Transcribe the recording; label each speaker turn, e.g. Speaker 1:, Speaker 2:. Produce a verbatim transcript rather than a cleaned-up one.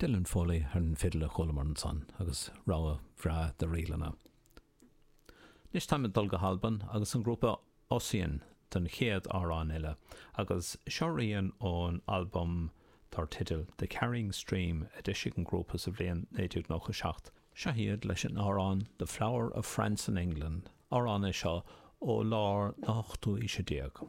Speaker 1: Dylan Foley ar an fidil a chualamar ansan agus rogha bhreá de ríleanna. Anois táim ag dul go hAlbain agus an grúpa Ossian don chéad amhrán eile, agus seo rian ón albam dar teideal The Carrying Stream a d'eisigh an grúpa sa bhliain naoi déag nócha seacht. Seo iad leis an amhrán The Flower of France and England, amhrán é seo ó lár na hochtú aoise déag.